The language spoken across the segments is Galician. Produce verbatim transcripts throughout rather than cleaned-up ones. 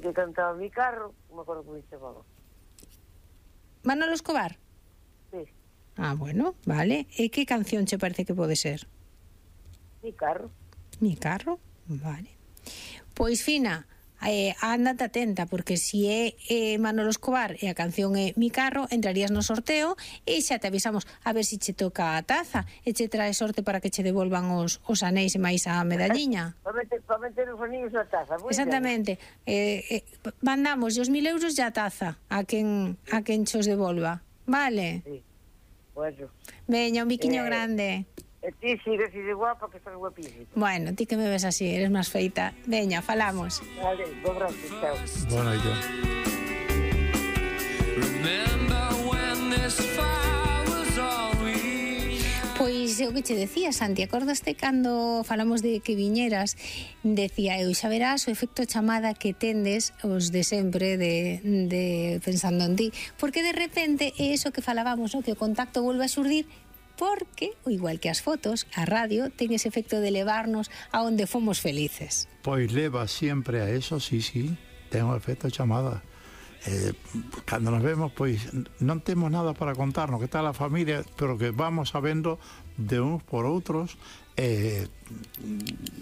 que cantaba Mi Carro, non me acordo como se chamaba. Manolo Escobar? Sí. Ah, bueno, vale. E que canción che parece que pode ser? Mi Carro. Mi Carro? Vale. Pois, Fina, eh, ándate atenta, porque si é eh, Manolo Escobar e a canción é Mi Carro, entrarías no sorteo e xa te avisamos a ver se che toca a taza e che trae sorte para que che devolvan os, os anéis e máis a medalliña. Para meter, pa meter os anillos na taza. Muy Exactamente. Eh, eh, mandamos os mil euros e a taza a quen, a quen chos devolva. Vale? Sí. Bueno. Veña, un biquiño Eh, grande. E ti sigue así de guapa, que estás guapísima. Bueno, ti que me ves así, eres máis feita. Veña, falamos. Vale, bo brazo, chao. Bueno, yo. Pois o que che decía, Santi, acordaste cando falamos de que viñeras, decía eu, xa verás o efecto chamada que tendes os de sempre de, de pensando en ti, porque de repente é eso que falábamos, no? Que o contacto volve a xurdir, porque, igual que as fotos, a radio ten ese efecto de levarnos a onde fomos felices. Pois leva sempre a eso, sí, sí, ten un efecto chamada. Eh, cando nos vemos, pois non temos nada para contarnos, que tal a familia, pero que vamos sabendo de uns por outros, eh,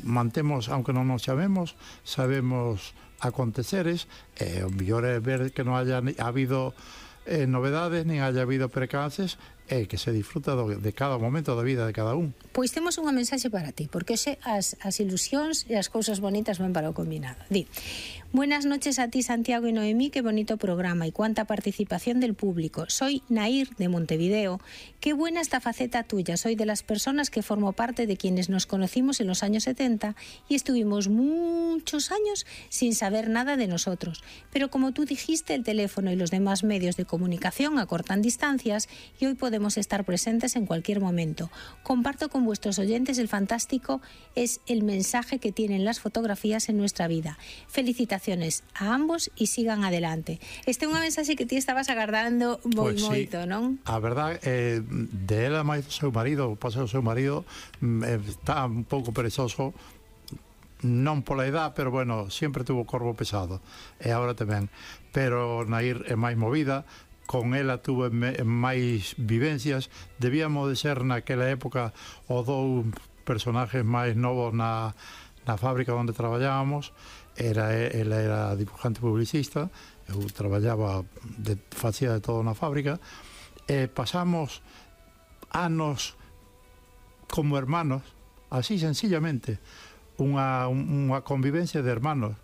mantemos, aunque non nos chamemos, sabemos aconteceres, eh, o mellor é ver que non haya habido eh, novedades, nin haya habido percances, e eh, que se disfruta do, de cada momento da vida de cada un. Pois temos unha mensaxe para ti, porque hoxe as, as ilusións e as cousas bonitas van para o combinado. Di: buenas noches a ti, Santiago y Noemí, qué bonito programa y cuánta participación del público. Soy Nair de Montevideo. Qué buena esta faceta tuya. Soy de las personas que formo parte de quienes nos conocimos en los años setenta y estuvimos muchos años sin saber nada de nosotros. Pero como tú dijiste, el teléfono y los demás medios de comunicación acortan distancias y hoy podemos estar presentes en cualquier momento. Comparto con vuestros oyentes el fantástico es el mensaje que tienen las fotografías en nuestra vida. Felicitaciones a ambos y sigan adelante. Este é unha mensaxe que ti estabas agardando moi Pois moito, sí, non? A verdade, eh, de ela máis o seu marido, o paso do seu marido, eh, está un pouco perezoso, non pola edad, pero bueno, sempre tuvo corpo pesado, e agora tamén. Pero Nair é máis movida, con ela tuve máis vivencias, debíamos de ser naquela época os dous personajes máis novos na, na fábrica onde traballábamos. Era, ela era dibujante publicista, eu traballaba, de, facía de todo na fábrica, e pasamos anos como hermanos, así sencillamente, unha, unha convivencia de hermanos.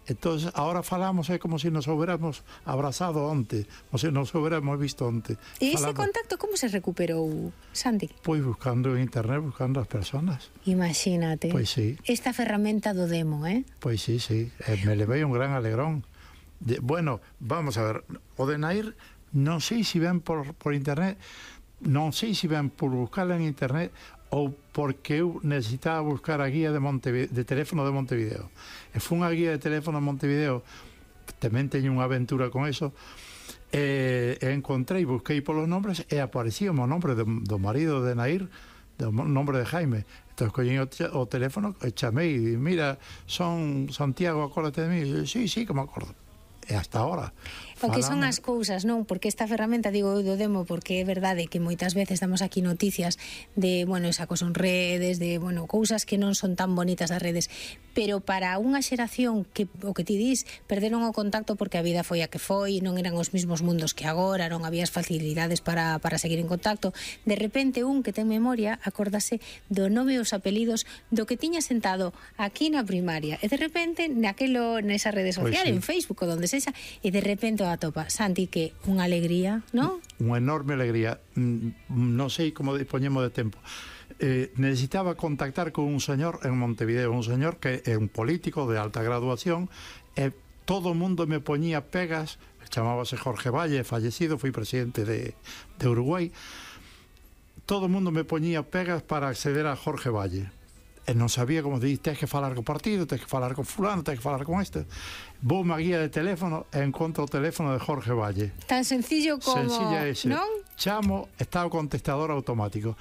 Entonces, ahora falamos, é como se nos hubiéramos abrazado onte, como se nos hubiéramos visto onte. E ese Falando, contacto como se recuperou, Santi? pois buscando en internet, buscando as personas. Imagínate. Pois sí. Esta ferramenta do demo, eh? Pois sí, sí, eh, me levei un gran alegrón. De, bueno, vamos a ver, o de Nair, non sei se ven por, por internet, non sei se ven por buscarla en internet ou porque eu necesitaba buscar a guía de, Montevideo, de teléfono de Montevideo. E foi unha guía de teléfono de Montevideo, tamén teño unha aventura con eso, e, e encontrei, busquei polos nombres e aparecía o nombre do, do marido de Nair, do nombre de Jaime. Entón, collín o, o teléfono e chamei e mira, son Santiago, acórdate de mí. E, sí, sí, que me acordo. E hasta ahora. O que son Falamos. as cousas, non? Porque esta ferramenta, digo eu do demo, porque é verdade que moitas veces damos aquí noticias de, bueno, sacos en redes, de, bueno, cousas que non son tan bonitas das redes, pero para unha xeración que, o que ti dis, perderon o contacto porque a vida foi a que foi, non eran os mismos mundos que agora, non había as facilidades para, para seguir en contacto, de repente un que ten memoria acórdase do nome e os apelidos do que tiña sentado aquí na primaria, e de repente naquelo, nesa rede social, Pois sí. en Facebook ou donde sexa, e de repente a topa. Santi, que unha alegría, non? Unha enorme alegría. Non sei como dispoñemos de tempo. Eh, necesitaba contactar con un señor en Montevideo, un señor que é un político de alta graduación, e todo o mundo me poñía pegas, chamábase Jorge Valle, fallecido, foi presidente de, de Uruguai, todo o mundo me poñía pegas para acceder a Jorge Valle. E non sabía como dicir, tens que falar co partido, tens que falar con fulano, tens que falar con este. Vou má guía de teléfono e encontro o teléfono de Jorge Valle. Tan sencillo como, Sencilla ese. non? Chamo, está o contestador automático.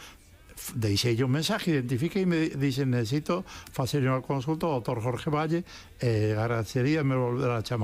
Deixei un mensaje, identifiquei e me dixen, necesito facer unha consulta ao doutor Jorge Valle, e agradecería me volver a chamar.